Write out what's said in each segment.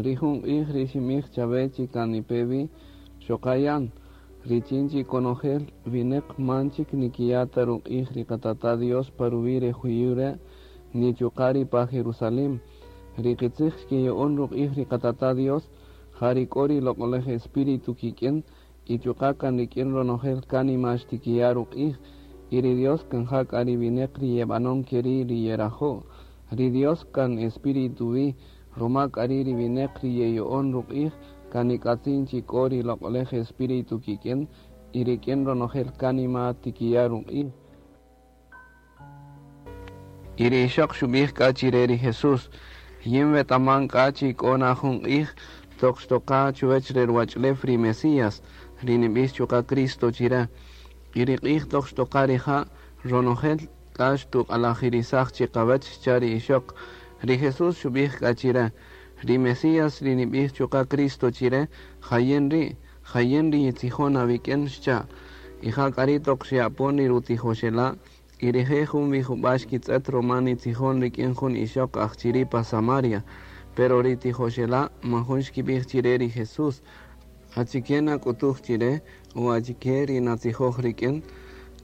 Ri jun q'ij ri xinb'ij chawe chi kan nipe wi, xoqa yan, richin chi konojel wineq man chik nikiya' ta ruq'ij ri qatata' Dios pa ruwi' re juyu' re', ni chuqa' ri pa Jerusalem. Ri qitzij xkiya'on ruq'ij ri qatata' Dios, ja ri k'o ri loq'olej Espíritu kik'in, y chuqa' kan rik'in ronojel kánima xtikiya' ruq'ij, y ri Dios kan ja k'a ri wineq ri yeb'anon keri' ri yerajo'. Ri Dios kan Espíritu wi, ruma k'a ri' ri wineq ri yeya'on ruq'ij, kan nik'atzin chi k'o ri loq'olej Espíritu kik'in, y rik'in ronojel kánima tikiya' ruq'ij. Y ri ixoq xub'ij k'a chire ri Jesús: Yin wetaman k'a chi k'o na jun q'ij toq xtoqa chuwech re ruwach'ulew ri Mesías, ri nib'ix chuqa' Cristo chire. Y ri q'ij toq xtoqa rija', ronojel k'a xtuq'alajirisaj chiqawech, xcha' ri ixoq. Ri Jesús xub'ij k'a chire: Ri Mesías ri nib'ij chuqa' Cristo chire, ja yin ri', ja yin ri yitzijon awik'in, xcha'. Y ja k'a ri' toq xe'apon ri rutijoxela', y rije' jun wi jub'a' xkitz'et ruma nitzijon rik'in jun ixoq aj chiri' pa Samaria. Pero ri tijoxela' man jun xkib'ij chire ri Jesús: Achike nak'utuj chire o achike ri natzijoj rik'in?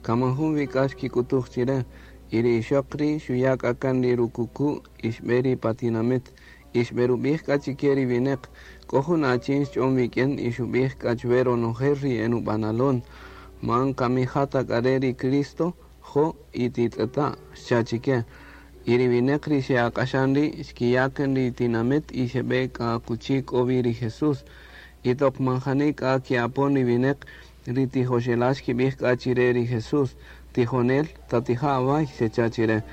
Kan man jun wi k'a xkik'utuj chire. Y ri ixoq ri' xuya' k'a kan ri rukuku' y xb'e ri pa tinamit. Y xb'erub'ij k'a chike ri wineq: K'o jun achin xch'on wik'in y xub'ij k'a chwe ronojel ri enub'analon. Man kami ja ta k'a re' ri Cristo? Jo' y titz'eta', xcha' chike. Y ri wineq ri xe'ak'axan ri' xkiya' kan ri tinamit y xeb'e k'a akuchi k'o wi ri Jesús. Y toq man jani k'a ke'apon ri wineq, ri tijoxela' xkib'ij k'a chire ri Jesús: Tijonel, tatija' away, xecha' chire.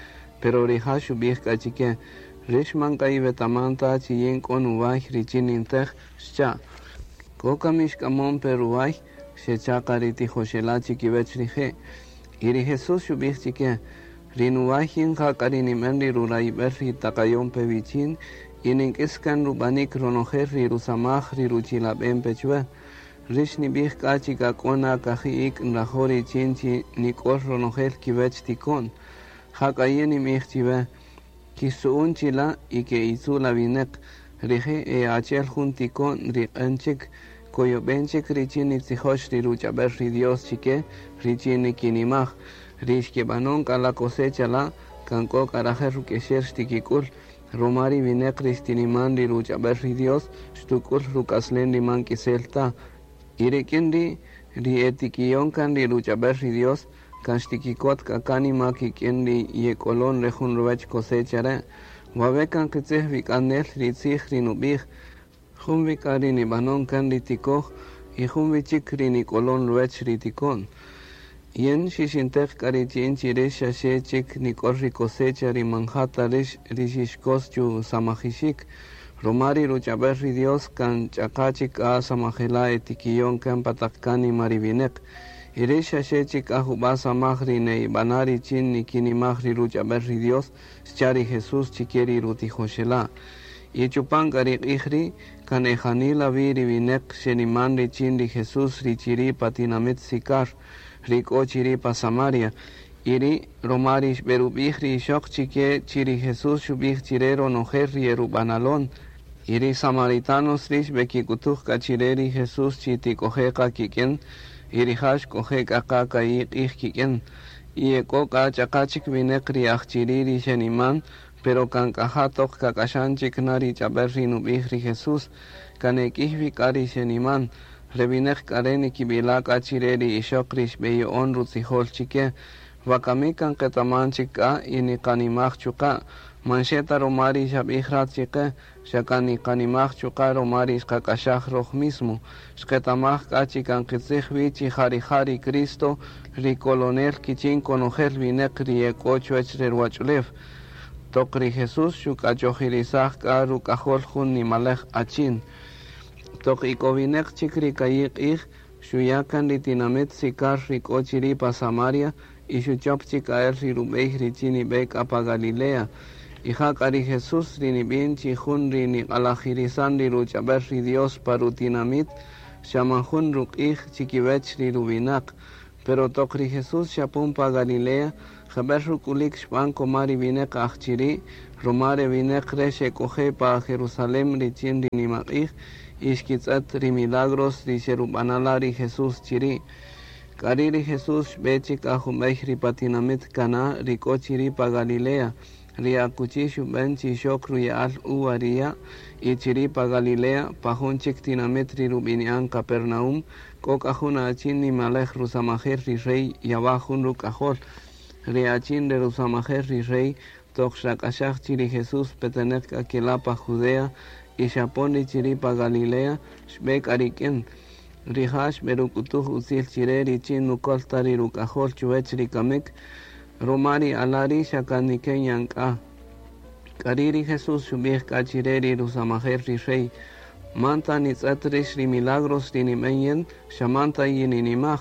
Pero rija' xub'ij k'a chike: Rix man k'a iwetaman ta chi yin k'o nuway richin nintej, xcha'. K'o kami xk'amon pe ruway, xecha' qa ri tijoxela' chikiwech rije'. Y ri Jesús xub'ij chike: Ri nuway yin ja k'a ri nib'en ri rurayib'el ri taqayon pe wichin y nink'is kan rub'anik ronojel ri rusamaj ri ruchilab'en pe chwe. Rix nib'ij k'a chi k'a k'o na kaji' ik' nrajo' richin chi nik'ol ronojel kiwech tiko'n. Ja k'a yin ninb'ij chiwe, Kixtzu'un chila' y ke'itzu' la wineq, rije' e achi'el jun tiko'n ri q'en chik, koyob'en chik richin nitzijox ri ruch'ab'el ri Dios chike richin nikinimaj. Ri xkeb'anon k'a la cosecha la' kan k'o k'a rajel ruk'exel xtikik'ul, roma ri wineq ri xtiniman ri ruch'ab'el ri Dios xtuk'ul ruk'aslen ri man k'isel ta. Y rik'in ri' ri e tikiyon kan ri ruch'ab'el ri Dios kan xtikikot k'a kánima kik'in ri yek'olon re jun ruwech cosecha re'. Wawe' kan qitzij wi k'a nel ri tzij ri nub'ij, Jun wi k'a ri nib'anon kan ri tikoj y jun wi chik ri nik'olon ruwech ri tiko'n. Yin xixinteq k'a richin chi rix xaxe chik nik'ol ri cosecha ri man ja ta rix ri xixkos chusamajixik, roma ri ruch'ab'el ri Dios kan ch'aqa' chik k'a samajela' e tikiyon kan pa taq kánima ri wineq. Y rix xaxe chik k'a jub'a' samaj ri ne'ib'ana' richin nikinimaj ri ruch'ab'el ri Dios, xcha' ri Jesús chike ri rutijoxela'. Y chupan k'a ri q'ij ri' kan e janila wi ri wineq xeniman richin ri Jesús ri chiri' pa tinamit Sicar, ri k'o chiri' pa Samaria. Y ri' roma ri xb'erub'ij ri ixoq chike chi ri Jesús xub'ij chire ronojel ri erub'analon. Y ri samaritanos ri' xb'ekik'utuj k'a chire ri Jesús chi tik'oje' qa kik'in, y rija' xk'oje' k'a qa ka'i' q'ij kik'in. Y ek'o k'a ch'aqa' chik wineq ri aj chiri' ri xeniman, pero kan k'a ja toq kak'axan chik na ri ch'ab'el ri nub'ij ri Jesús, kan e k'iy wi k'a ri xeniman. Re wineq k'a re' nikib'ila' k'a chire ri ixoq ri xb'eyo'on rutzijol chike, Wakami kan qetaman chik k'a y niqanimaj chuqa', man xe ta roma ri xab'ij rat chiqe, xa kan niqanimaj chuqa' roma ri xqak'axaj roj mismo. Xqetamaj k'a chi kan qitzij wi chi ja rija' ri Cristo, ri Kolonel kichin konojel wineq ri ek'o chuwech re ruwach'ulew. Toq ri Jesús xuk'achojirisaj k'a ruk'ajol jun nimalej achin. Toq ik'owineq chik ri ka'i' q'ij, xuya' kan ri tinamit Sicar ri k'o chiri' pa Samaria y xuchop chik k'a el ri rub'ey richin nib'e k'a pa Galilea. Y ja k'a ri Jesús ri nib'in chi jun ri niq'alajirisan ri ruch'ab'el ri Dios pa rutinamit, xa man jun ruq'ij chikiwech ri ruwinaq. Pero toq ri Jesús xapon pa Galilea, jeb'el ruk'ulik xb'an koma ri wineq aj chiri', Roma re wineq re' xek'oje' pa Jerusalem richin ri nimaq'ij y xkitz'et ri milagros ri xerub'anala' ri Jesús chiri'. K'ari' ri Jesús xb'e chik k'a jumb'ey ri pa tinamit Caná ri k'o chiri' pa Galilea, ri akuchi xub'en chi xok ruya'al uva ri ya', y chiri' pa Galilea, pa jun chik tinamit ri rub'ini'an Capernaum, k'o k'a jun achin nimalej rusamajel ri rey yawa' jun ruk'ajol. Ri achin re rusamajel ri rey toq xrak'axaj chi ri Jesús peteneq k'a kela' pa Judea y xapon ri chiri' pa Galilea, xb'e k'a rik'in. Rija' xb'eruk'utuj utzil chire richin nukol ta ri ruk'ajol chuwech ri kamik, roma ri ala' ri' xa kan niken yan k'a. K'ari' ri Jesús xub'ij k'a chire ri rusamajel ri rey, Man ta nitz'et rix ri milagros ri nib'en yin, xa man ta yininimaj.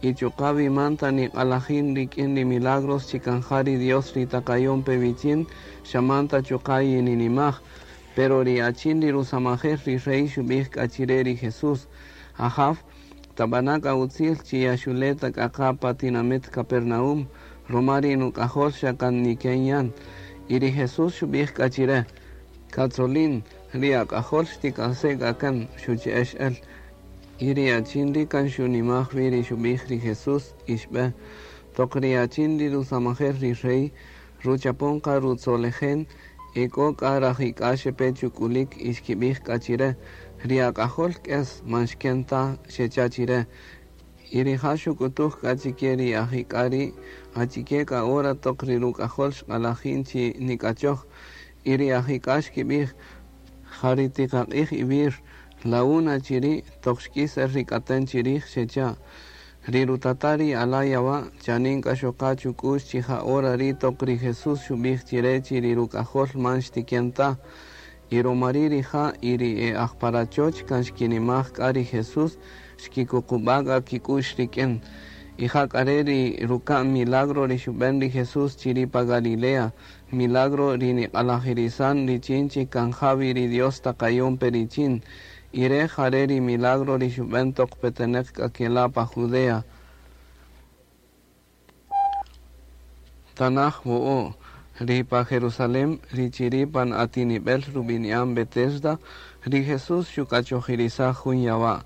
Y chuqa' wi man ta niq'alajin rik'in ri milagros chi kan ja ri Dios ri taqayon pe wichin, xa man ta chuqa' yininimaj. Pero ri achin ri rusamajel ri rey xub'ij k'a chire ri Jesús, Ajaw, tab'ana' k'a utzil chi yaxule' ta k'a qa pa tinamit Capernaum, roma ri nuk'ajol xa kan niken yan. Y ri Jesús xub'ij k'a chire, Katzolin, ri ak'ajol xtik'ase' k'a kan, xuche'ex el. Y ri achin ri' kan xunimaj wi ri xub'ij ri Jesús y xb'e. Toq ri achin ri rusamajel ri rey ruchapon qa rutzolejen, e k'o k'a rajik'a xepe chuk'ulik y xkib'ij k'a chire, Ri ak'ajol k'es, man xken ta, xecha' chire. Y rija' xuk'utuj k'a chike ri ajik'a ri' achike k'a hora toq ri ruk'ajol xq'alajin chi nik'achoj. Y ri ajik'a xkib'ij, Ja ri tiqaq'ij iwir, la una chiri' toq xk'is el ri k'aten chirij, xecha'. Ri rutata' ri ala' yawa' chanin k'a xoqa chuk'u'x chi ja hora ri' toq ri Jesús xub'ij chire chi ri ruk'ajol man xtiken ta. Y romari' rija' y ri e aj pa rachoch kan xkinimaj k'a ri Jesús, xkikuqub'a' k'a kik'u'x rik'in. Y ja k'a re' ri ruka'n milagro ri xub'en ri Jesús chiri' pa Galilea, milagro ri niq'alajirisan richin chi kan ja wi ri Dios taqayon pe richin. Y re' jare' ri milagro ri xub'en toq peteneq k'a kela' pa Judea. Tanaj wo'o', ri pa Jerusalem, ri chiri' pan atinibel rubini'an Betesda, ri Jesús xuk'achojirisaj jun yawa'.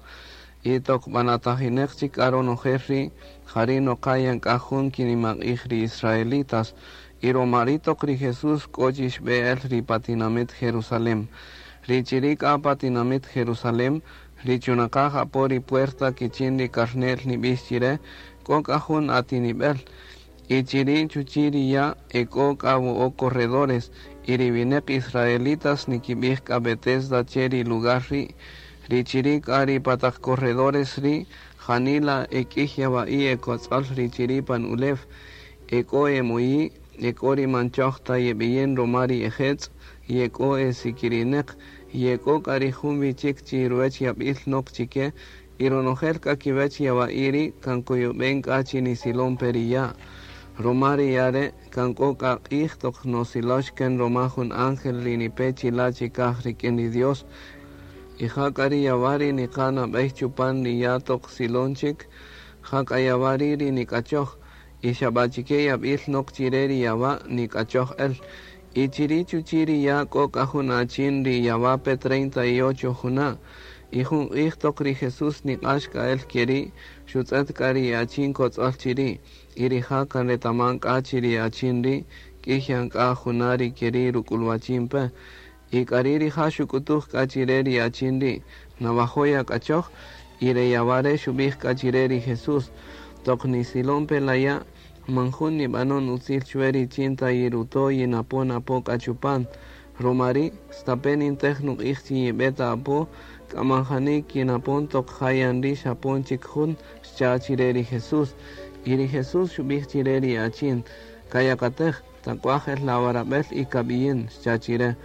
Y toq b'anatajineq chik k'a ronojel ri', jari' noqa yan k'a jun kinimaq'ij ri israelitas. Y roma ri' toq ri Jesús k'o chi xb'e el ri pa tinamit Jerusalem. Ri chiri' k'a pa tinamit Jerusalem, ri chunaqaj apo ri puerta kichin ri karne'l nib'ix chire, k'o k'a jun atinib'el. Y chiri' chuchi' ri ya' ek'o k'a wo'o' corredores, y ri wineq israelitas nikib'ij k'a Betesda che ri lugar ri'. Ri chiri' k'a ri pa taq corredores ri' janila e k'iy yawa'i' e kotz'ol ri chiri' pan ulew, ek'o e moyi', ek'o ri man choj ta yeb'iyin roma ri e jetz', y ek'o e sikirineq, y ek'o k'a ri jun wi chik chi ruwech yab'il nok chike, Y ronojel k'a kiwech yawa'i' ri' kan koyob'en k'a chi nisilon pe ri ya'. Roma ri ya' re' kan k'o k'a q'ij toq nosilox kan roma jun ángel ri nipe chila' chikaj rik'in ri Dios. Y ja k'a ri yawa' ri niqa' nab'ey chupan ri ya' toq silon chik, ja k'a yawa' ri' ri nik'achoj. Y xa b'a chike yab'il nok chire ri yawa' nik'achoj el. Y chiri' chuchi' ri ya' k'o k'a jun achin ri yawa' pe 38 juna'. Y jun q'ij toq ri Jesús niq'ax k'a el keri', xutz'et k'a ri achin kotz'ol chiri', y rija' kan retaman k'a chi ri achin ri' k'iy yan k'a juna' ri keri' ruk'ulwachin pe. Y k'ari' rija' xuk'utuj k'a chire ri achin ri', Nawajo' yak'achoj? Y re yawa' re' xubij k'a chire ri Jesús, Toq nisilon pe la ya', man jun nibanon utzil chuwe richin ta yiruto' yinapon-apo k'a chupan. Roma ri', stape' nintej nuq'ij chi yibe ta apo, k'a man jani kinapon toq ja yan ri' xapon chik jun, xcha' chire ri Jesús. Y ri Jesús xubij chire ri achin, Kayakatej, tak'uaj-el la awarabel y kabiyin, xcha' chire.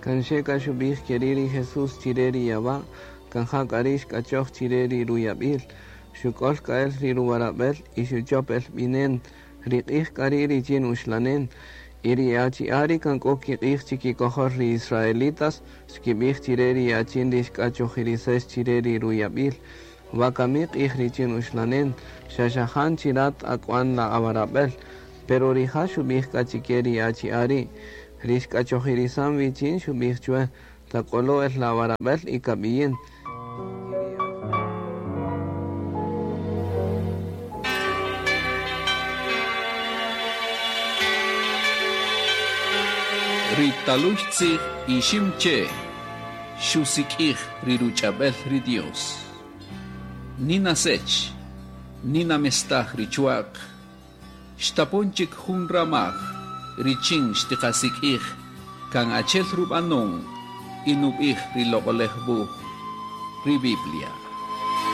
Kan xe k'a xubij keri' ri Jesús chire ri yawa', kan ja k'a ri' xk'achoj chire ri ruyabil. Xuk'ol k'a el ri ruwarabel y xuchop-el binen. Ri q'ij k'a ri' richin uxlanen. Y ri achi'a' ri kan k'o kiq'ij chikikojol ri israelitas xkibij chire ri achin ri xk'achojirisex chire ri ruyabil, Wakami q'ij richin uxlanen, xa xajan chi rat ak'uan la awarabel. Pero rija' xubij k'a chike ri achi'a' ri', Ri xk'achojirisan wichin xubij chuwe, Tak'olo-el la awarabel y kabiyin. Ri talüy tzij Iximche' xusik'ij ri ruch'ab'el ri Dios. Nina Sech, Nina mestaj ri chwa'q, xtapon chik jun ramaj richin xtiqasik'ij kan achi'el rub'anon y nub'ij ri Loq'oläj Wuj, ri Biblia.